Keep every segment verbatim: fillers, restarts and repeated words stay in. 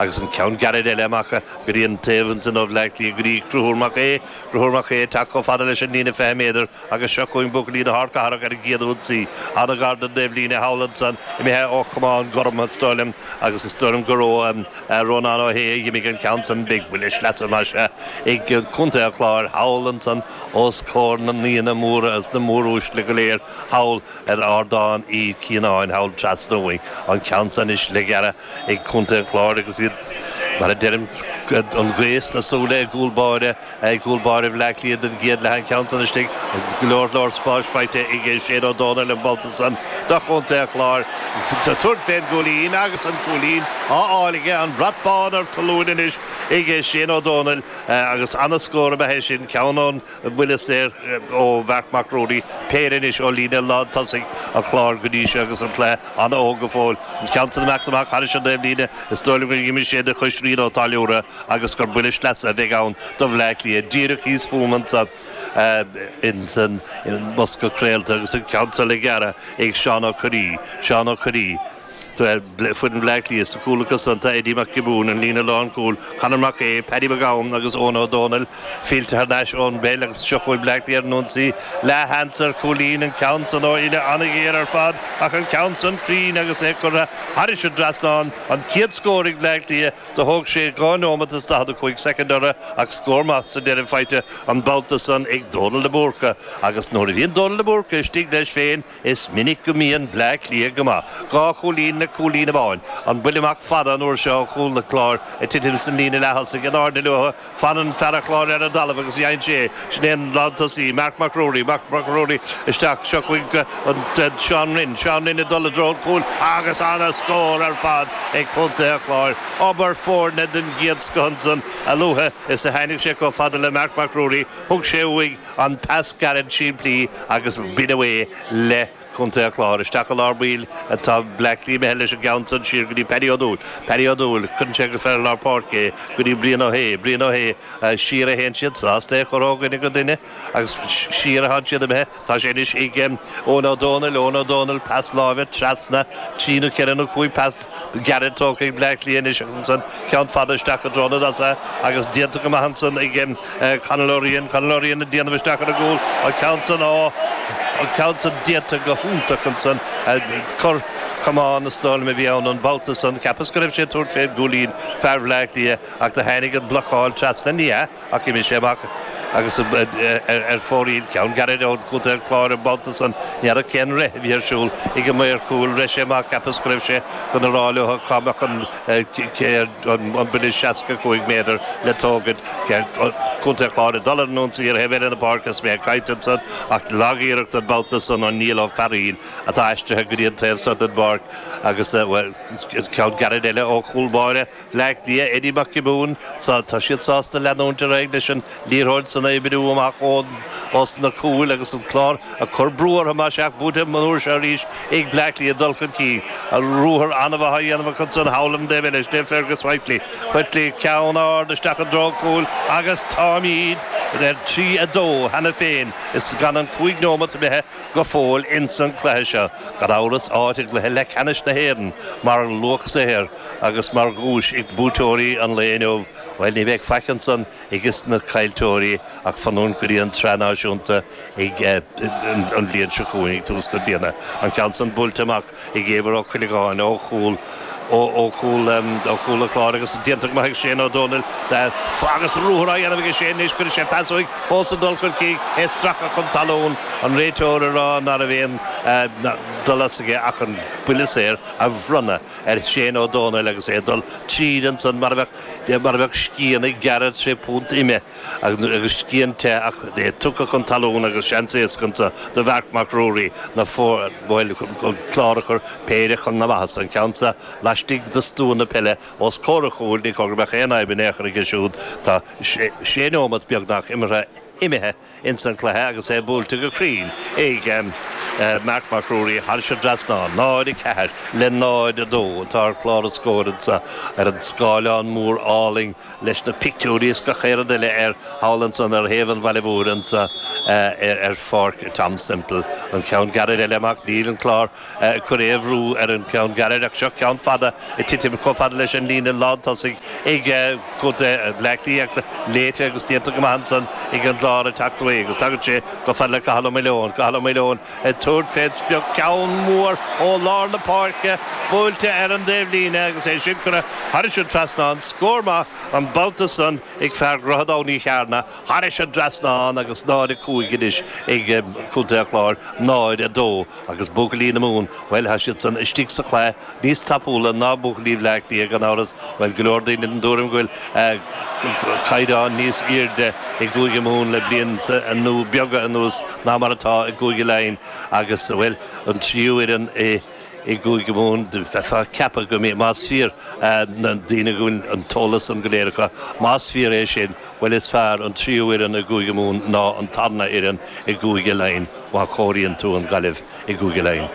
Agus an ceann gairid eile amach go dtí an taobh ansin ó Bhleá Cliath go dtí Conchúr Mac Aodha, Conchúr Mac Aodha ag teacht chomh fada leis an líne fiche méadar agus seo chugainn buachaillí na hArdchathrach ar an gcéad ionsaí. An-ghar don dtaobhlíne thall ansan, imithe ó chamán gorm is dóigh liom agus is dóigh liom gur ó Rónán Ó hAodha a d'imigh an ceann san. Beidh buille sleasa más ea ag Contae an Chláir thall ansan os comhair na n-aíonna móra agus na móruaisle go léir thall ar Ardán Uí Chianáin thall trasna uainn. An ceann san anois le gearradh ag Contae an Chláir agus iad, mar a deirim, an ghaoth sna súile i gcúl báire, i gcúl báire Bhleá Cliath den gcéad leath. An ceann san istigh, go leor leor spáis faighte ag Shane Ó Dónaill an babhta san do Chontae an Chláir. Tabhairt fén gcúilín agus an cúilín á fháil aige, an brat bán ar foluain anois ag Shane Ó Dónaill agus ana-scór ab ea é sin, ceann ón bhuille saor ó Mharc Mac Ruairí, péire anois ó líne lántosaigh an Chláir go dtí seo agus an cluiche an-óg go fóill. An ceann san amach amach thairis an dtaobhlíne, is dóigh liom gur imigh sé de chois Rian Ó Táilliúra agus gur buille sleasa a bheidh ann do Bhleá Cliath. Díreach thíos fúm anseo ins an mbosca craolta agus an ceann seo le gearradh ag Seán Ó Curraoin. Seán Ó Curraoin. Foireann Bhleá Cliath sa chúl acu san tá Eddie Mac Giobúin, an líne lánchúil, Conor Mac Aodha, Paddy Mac Gabhann agus Eoin Ó Dónaill fillte thar n-ais ón bpeil agus seo chugainn Bleá Cliath ar an ionsaí. Leathsheans ar chúilín, an ceann san ó uille an-ghéar ar fad ach an ceann san cruinn agus é curtha thairis an dtrasnán. An chéad scór ag Bleá Cliath. Do thóg sé dhá nóimeat is daichead a cúig soicind orthu ach scór maith sa deireadh faighte an babhta san ag Dónal de Búrca agus nuair a bhíonn Dónal de Búrca istigh leis féin is minic go mbíonn Bleá Cliath go maith. Dhá chúilín le cúilín amháin. An buille amach fada an uair seo ó chúl an Chláir ag titim san líne leath-thosaigh in airde leo. Fanann fear an Chláir ar an dtalamh agus dhein sé é. Sin é an lántosaí, Marc Mac Ruairí, Marc Mac Ruairí isteach. Seo chugainn an Seán Rynne, Seán Rynne ag dul i dtreo an chúil agus ana-scór ar fad ag contae an Chláir. Obair foirne den gcéad scoth ansan. A luaithe is a tháinig sé chomh fada le Marc Mac Ruairí, thug sé uaidh an pas gairid simplí agus b'in away le Contae an Chláir. Isteach i lár baill atá Bleá Cliath imithe leis an gceann san siar go dtí Paddy Ó Dúill. Paddy Ó Dúill, cuireann sé go fear lár páirce é go dtí Brian Ó hAodha. Brian Ó hAodha, siar a théann siad, sásta é a chur ó dhuine go duine agus siar atá siad imithe. Tá sé anois ag Eoin Ó Dónaill, Eoin Ó Dónaill, pas láimhe trasna, trí nó ceithre nó cúig pas gairid tógtha ag Bleá Cliath anois agus ansan ceann fada isteach i dtreo na dtosaithe agus déanta go maith ansan ag Conall Ó Riain, Conall Ó Riain ag déanamh isteach ar an gcúl, an ceann san, ó, an ceann san déanta go hiontach ansan, cor camáin is dóigh liom a bhí ann an babhta san, cheapas go raibh sé ag tabhairt fén gcúilín, fear Bhleá Cliath ach do tháinig an blocáil trasna, ní hea ach d'imigh sé amach. Agus ar fóraoil, ceann gairid ó Chontae an Chláir an babhta san, ní fheadar cén rith a bhí ar siúl ag an maor cúil, rith sé amach, cheapas go raibh sé chun a rá leo cá mbeadh an buille seasca cúig méadar le tógaint. Contae an Chláir ag dul ar an ionsaí ar thaobh eile na páirce is mé ag caint ansan ach lag-iarracht an babhta san ó Niall Ó Fearaíl atá aistrithe go dtí an taobh so den bpáirc agus, bhuel, ceann gairid eile ó chúl báire Bhleá Cliath, Eddie Mac Giobúin. Tá siad sásta leanúint ar aghaidh leis an liathróid san a oibriú amach ós na cúil agus an Clár ag cur brú orthu más ea buaite an uair seo arís ag Bleá Cliath dul chun cinn. Ruathar an-mhaith á dhéanamh acu ansan thall ar an dtaobh eile. Sin é Fergus Whiteley. Whiteley ceann ard isteach i dtreo an chúil agus táimid ar trí a dó cheana féin is gan an cúig neomat imithe go fóill ins an cluiche seo. Gan amhras áit i gcluiche leathcheannais na hÉireann mar luach saothair agus mar dhuais ag buaiteoirí an lae inniu. Bhuel, ní bheidh faic ansan ages na caillteoirí ach fanúint go dtí an tSraith Náisiúnta ag an bhliain seo chugainn, ag tús na bliana. An ceann san buailte amach ag Éibhear Ó Cuileagáin ó chúl ó chúl ó chúl an Chláir agus déanta go maith ag Shane Ó Dónaill agus ruathar á dhéanamh aige Shane anois cuireann sé pas uaidh fós ag dul chun cinn é stractha chun talún an réiteoir ag rá ná raibh aon dul as aige ach an buille saor a bhronnadh ar Shane Ó Dónaill agus é ag dul tríd ansan mar a bheadh mar a bheadh scian ag gearradh tré phunt ime agus scian te ach é tugtha chun talún agus seans éasca anso do Mharc Mac Ruairí na bhuel an Clár a chur péire chun na maitheasa an ceann seo laistigh de stua na peile os comhair an chúil ní chóir go mbeadh aon fhadhb in aon chor aige siúd tá sé nóimeat beagnach imeartha imithe ins an cluiche agus é buailte go cruinn ag Marc Mac Ruairí thar an dtrasnán náid a ceathair le náid a dó atá ar chlár na scór ar an scáileán mór álainn leis na pictiúirí is gach aon rud eile ar thall ansan ar thaobh an bhaile mhóir anseo ar pháirc Tom Semple an ceann gairid eile amach níl an clár chur aon bhrú ar an ceann gairid ach seo ceann fada ag titim chomh fada leis an líne lántosaigh ag contae Bhaile Átha Cliath léite agus déanta go maith ansan ag an gclár ag teacht uaidh agus tagann sé chomh fada le Cathal Ó Maoileoin Cathal Ó Maoileoin ag tabhairt fén sprioc ceann mór ó lár na páirce buailte ar an dtaobhlíne agus é sin curtha thar an trasnán scór maith an babhta san ag fear Dhroichead Abhann Uí Chearna thar an dtrasnán agus náid a cúig anois ag Contae an Chláir náid a dó agus buachaillí na Mumhan bhuel tá siad san istigh sa chluiche níos tapúla ná buachaillí Bhaile Átha Cliath gan amhras bhuel go leor daoine den tuairim go bhfuil caighdeán níos airde i gCúige Mumhan le blianta nó beaga anuas ná mar atá i gCúige Laighean agus bhuel an tríú fhoireann i i gCúige Mumhan bheifeá ag ceapadh go mbeidh más fíor na daoine go bhfuil an t-eolas an go léir acu más fíor é sin bhuel is fearr an tríú fhoireann i gCúige Mumhan ná an tarna fhoireann i gCúige Laighean má chomhaireann tú an Ghaillimh i gCúige Laighean.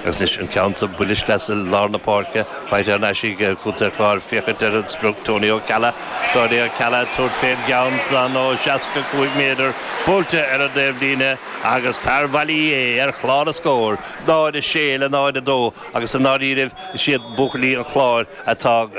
Agus anois an ceann sa buille sleasa lár na páirce faighte ar ais ag Contae an Chláir féachaint ar an sprioc Tony Ó Ceallaigh Tony Ó Ceallaigh tabhairt fén gceann san ó seasca cúig méadar buailte ar an dtaobhlíne agus fear Bhaile Uí Aodha ar chlár na scór náid a sé le náid a dó agus i ndáiríribh is iad buachaillí an Chláir atá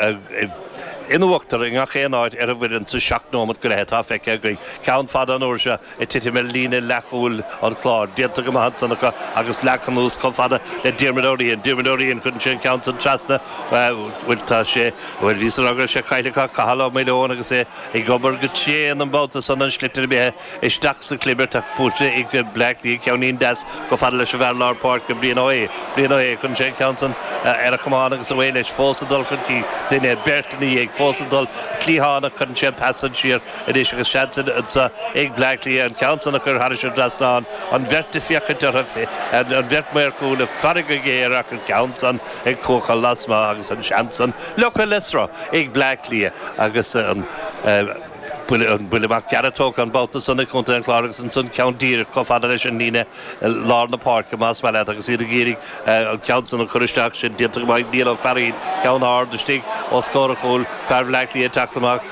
in uachtar i ngach aon áit ar an bhfoireann sa seacht nóiméad go leith atá feicthe againn. Ceann fada an uair seo ag titim ar líne leathchúil an Chláir, déanta go maith ansan acu agus leagtha anuas chomh fada le Diarmuid Ó Riain. Diarmuid Ó Riain cuireann sé an ceann san trasna bhuel tá sé bhuel bhí san go raibh sé caillte acu Cathal Ó Maoileoin agus é ag obair go tréan an babhta san an sliotar imithe isteach sa chlibirt ach buailte ag Bleá Cliath ceannín deas chomh fada leis an bhfear lár páirce Brian Ó Aodha. Brian Ó Aodha cuireann sé an ceann san ar a chamán agus away leis fós ag dul chun cinn duine beirt ina dhiaidh fós ag dul cliathánach cuireann sé an pas san siar anois agus seans anseo ag Bleá Cliath an ceann san a chur thar an dtrasnán an bheirt ag féachaint orthu an bheirt maor cúil ag faire go géar ach an ceann san ag cuachadh lasmuigh agus an seans san leocha le sruth ag Bleá Cliath agus an an buille amach gearr tógtha an babhta san ag Contae an Chláir agus ansan ceann díreach chomh fada leis an líne lár na páirce más maith leat agus iad ag iarraidh an ceann san a chur isteach sin déanta go maith Niall Ó Fearraín ceann ard istigh os comhair an chúil fear Bhaile Átha Cliath teacht amach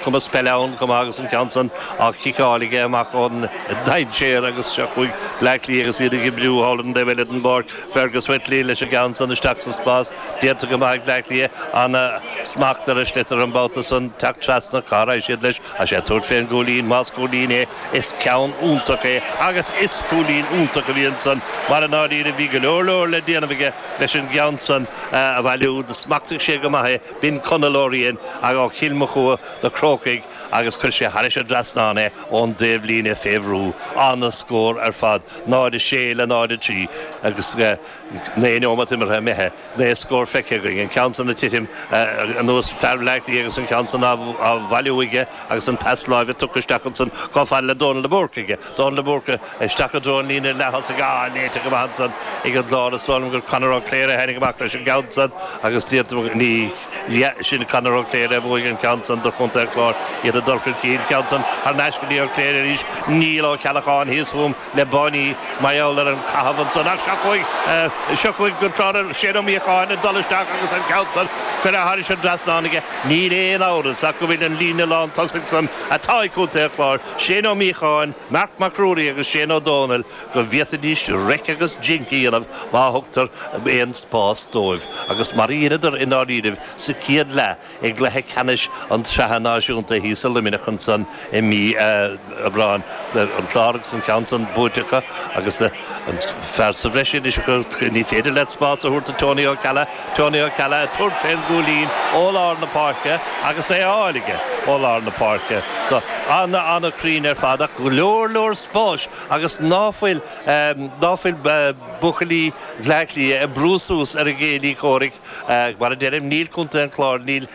cumas peile ann chomh maith agus an ceann san á chiceáil aige amach ón dainséar agus seo chugainn Bleá Cliath agus iad ag oibriú thall an taobh eile den bpáirc Fergus Whitley leis an gceann san isteach sa spás déanta go maith Bleá Cliath an smacht ar an sliotar an babhta san teacht trasna cá raibh siad leis a sé tabhairt fén gcúilín más cúilín é is ceann iontach é agus is cúilín iontach a bhí ansan mar i ndáiríre bhí go leor leor le déanamh aige leis an gceann san a bhailiú smachtaigh sé go maith é b'in Conall Ó Riain ag ó Chill Mochua na Crócaigh agus chuir sé thar an dtrasnán é ón dtaobhlíne fé bhrú an-scór ar fad náid a sé le náid a trí agus naoi nóiméad imeartha imithe naoi scór feicthe againn an ceann san ag titim anuas fear Bhaile Átha Cliath agus an ceann san á bhailiú aige agus an pas láimhe tugtha isteach ansan chomh fada le Dónal de Búrca aige Dónal de Búrca isteach i dtreo an líne leath-thosaigh á léite go maith ansan ag an gclár is dóigh liom gur Conor Ó Cléire tháinig amach leis an gceann san agus ní sin Conor Ó Cléire a bhuaigh an ceann san do Chontae an Chláir iad ag dul chun cinn ceann san thar n-ais go dtí Ó Cléire arís Níl Ó Ceallacháin thíos fúm le báiní mar gheall ar an caitheamh ansan ach seo chugainn seo chugainn go clár Shane Ó Míocháin ag dul isteach agus an ceann san curtha thar an dtrasnán aige níl aon amhras ach go bhfuil an líne lán tosaigh san atá ag Contae an Chláir Shane Ó Míocháin Marc Mac Ruairí agus Shane Ó Dónaill go bhféadfaidís raic agus jinc a dhéanamh má thugtar aon spás dóibh agus mar a dheineadar i ndáiríribh sa chéad leath i gcluiche ceannais an tsraithe náisiúnta thíos i Luimneach ansan i mí Aibreáin an clár agus an ceann san buaite acu agus an fear sa bhreis anois ní féidir leat spás a thabhairt do Tony Ó Ceallaigh Tony Ó Ceallaigh tabhairt fén gcúilín ó lár na páirce agus é á fháil aige ó lár na páirce so ana an-chruinn ar fad ach go leor leor spáis agus ná fuil ná fuil buachaillí Bhleá Cliath ag brú suas ar a gcéilí comhraic mar a deirim níl Contae an Chláir níl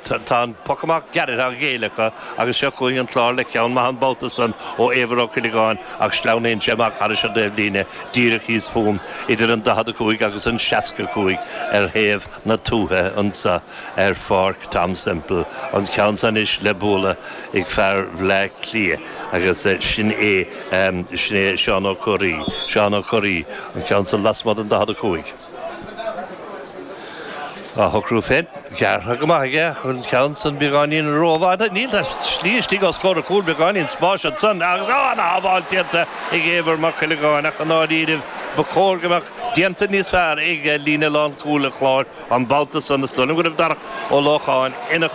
tá an poc amach gearrtha á ghéilleadh acu agus seo chugainn an Clár le ceann maith an babhta san ó Éibhear Ó Cuileagáin ach sleamhnaíonn sé amach thar an dtaobhlíne díreach thíos fúm idir an daichead a cúig agus an seasca cúig ar thaobh na tuaithe anseo ar Pháirc Tom Semple an ceann san anois le bualadh ag fear Bhleá Cliath agus sin é sin é Seán Ó Curraí Seán Ó Curraí an ceann san lasmuigh den daichead a cúig. Á shocrú féin gearrtha go maith aige an ceann san beagáinín rófhada níl slí istigh os comhair cúl beagáinín spáis san agus an-shábháil déanta ag Éibhear Mac Cuileagáin ach an áiríomh ba chóir go mbeadh déanta níos fearr ag líne lánchúil an Chláir an babhta san is dóigh liom go raibh Darach Ó Lócháin ina